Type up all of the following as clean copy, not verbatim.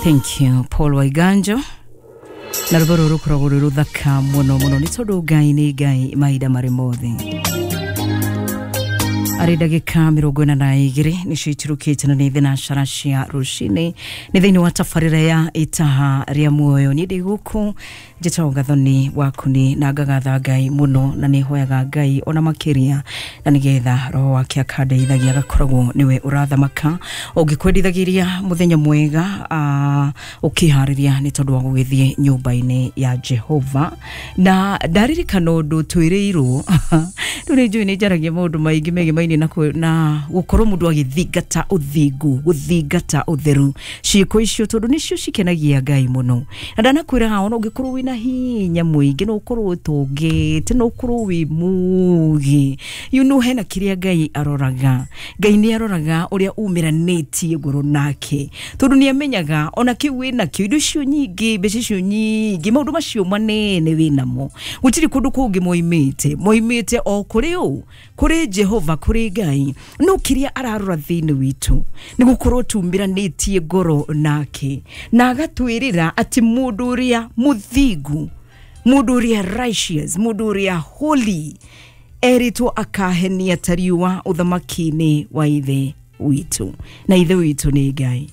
Thank you Paul Waiganjo na rwĩmbo rũrũ rũkoragwo rwĩ rũthaka mũno mũno nĩ tondũ Ngai nĩ Ngai mahinda marĩ mothe. Arĩ ndagĩka 42 nĩcio itirũkĩte na nĩ thinacara cia rũcinĩ nĩ thĩinĩ wa tabarĩra ya itaha rĩa muoyo. Niĩ ndĩ gũkũ njĩtagwo Gathoni Wakuni na ngagatha Ngai mũno na nĩ hoyaga Ngai ona makĩria na nĩgetha roho wake akandeithagia agakoragwo nĩwe ũrathamaka ũngĩkwendithagĩria mũthenya mwega ũkĩharĩria nĩ tondũ wa gũgĩthiĩ nyũmba-inĩ ya Jehova. Na ndaririkana ũndũ twĩrĩirwo rĩu nĩ njũĩ nĩ njaragia maũndũ maingĩ megemainie na gũkorwo mũndũ agĩthingata ũthingu, gũthingata ũtheru, ciĩko icio tondũ nĩcio cikenagia Ngai mũno. Na ndanakwĩra ona ũngĩkorwo wĩna hinya mũingĩ no ũkorwo ũtũngĩte no ũkorwo wĩ mũgĩ, you know, hena kĩrĩa Ngai aroraga. Ngai nĩ aroraga ũrĩa umĩranĩtie ngoro nake tondũ nĩ amenyaga ona kĩu wĩnakĩo, indo icio nyingĩ, mbeca icio nyingĩ, maũndũ macio manene wĩnamo, gũtirĩ kũndũ kũngĩ moimĩte, moimĩte o kũrĩ ũ, kũrĩ Jehova, kũrĩ Ngai. No kĩrĩa ararora thĩinĩ witũ nĩ gũkorwo tumĩranĩtie ngoro nake na agatwĩrĩra atĩ mũndũ ũrĩa mũthingu, mũndũ ũrĩa righteous, mũndũ ũrĩa holy erĩtwo akahenia ta riũa ũthamaki-inĩ wa ithe witũ, na ithe witũ nĩ Ngai,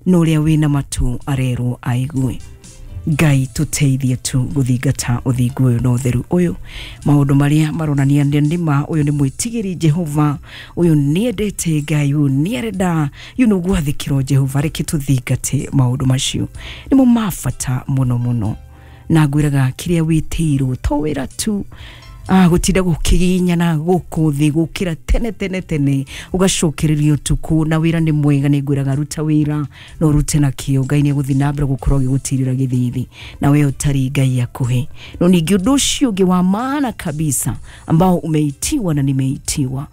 na ũrĩa wĩna matũ arerwo aigue. Ngai tũteithie tu gũthingata ũthingu ũyũ na ũtheru ũyũ, maũndũ marĩa maronania nĩma ũyũ nĩ mwĩtigĩri Jehova, ũyũ nĩendete Ngai, ũyũ nĩarenda you know gwathĩkĩrwo Jehova. Reke tũthingate maũndũ macio, nĩmo ma bata mũno mũno. Na ngwĩraga kĩrĩa wĩtĩirwo to wĩra tu, gũtinda gũkĩginyana gũkũ thĩ gũkĩra tene tene tene ũgacokereria ũtukũ, na wĩra nĩ mwega, nĩ ngwĩraga ruta wĩra na ũrute na kĩo, Ngai nĩ egũthiĩ na mbere gũkorwo agĩgũtirĩra gĩthithi na we ũtarĩ Ngai akũhe. No ningĩ ũndũ ũcio ũngĩ wa maana kabisa ambao umeitiwa na nimeitiwa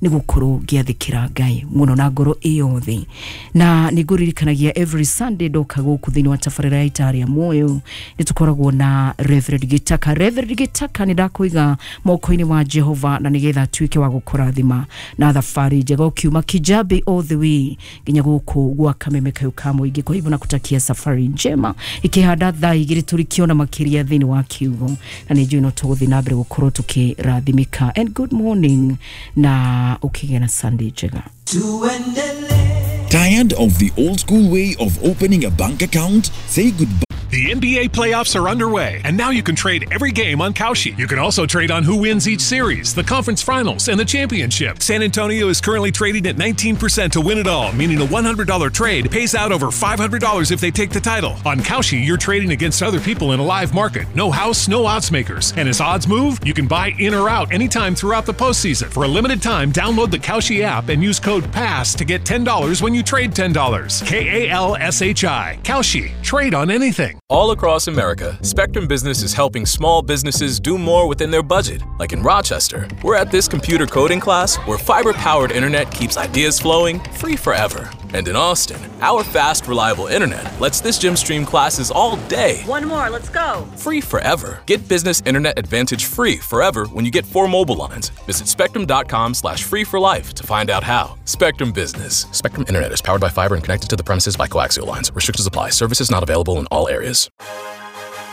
nĩ gũkorwo ngĩathĩkĩra Ngai mũno na ngoro ĩyothe. Na nĩ ngũririkanagia every Sunday ndoka gũkũ thĩinĩ wa tabarĩra ya itaha rĩa muoyo nĩ tũkoragwo na Reverend Gĩtaka. Reverend Gĩtaka nĩ ndakũiga moko-inĩ wa Jehova na nĩgetha atuĩke wa gũkũrathima na thabarĩ njega ũkiuma Kijabe all the way nginya gũkũ gwa Kameme kayũ ka mũingĩ. Kwa hivyo nakutakia safari njema ikĩhanda thaa igĩrĩ tũrĩkĩona makĩria thĩinĩ wa kiugo, na nĩ njũĩ no tũgũthiĩ na mbere gũkorwo tũkĩrathimĩka. And good morning na ukigĩa na Sunday njega. Tired of the old school way of opening a bank account? Say goodbye. The NBA playoffs are underway, and now you can trade every game on Kalshi. You can also trade on who wins each series, the conference finals, and the championship. San Antonio is currently trading at 19% to win it all, meaning a $100 trade pays out over $500 if they take the title. On Kalshi, you're trading against other people in a live market. No house, no odds makers. And as odds move, you can buy in or out anytime throughout the postseason. For a limited time, download the Kalshi app and use code PASS to get $10 when you trade $10. K-A-L-S-H-I. Kalshi. Trade on anything. All across America, Spectrum Business is helping small businesses do more within their budget. Like in Rochester, we're at this computer coding class where fiber-powered internet keeps ideas flowing free forever. And in Austin, our fast, reliable internet lets this gym stream classes all day. One more, let's go. Free forever. Get business internet advantage free forever when you get 4 mobile lines. Visit spectrum.com/free for life to find out how. Spectrum Business. Spectrum Internet is powered by fiber and connected to the premises by coaxial lines. Restrictions apply. Services not available in all areas.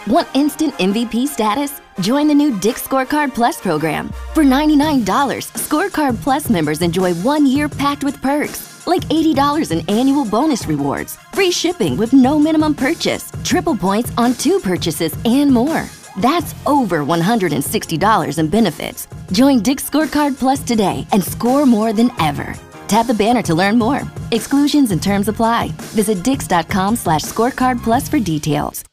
Want instant MVP status? Join the new Dick's Scorecard Plus program. For $99, Scorecard Plus members enjoy 1 year packed with perks, like $80 in annual bonus rewards, free shipping with no minimum purchase, triple points on 2 purchases, and more. That's over $160 in benefits. Join Dick's Scorecard Plus today and score more than ever. Tap the banner to learn more. Exclusions and terms apply. Visit dicks.com/scorecard plus for details.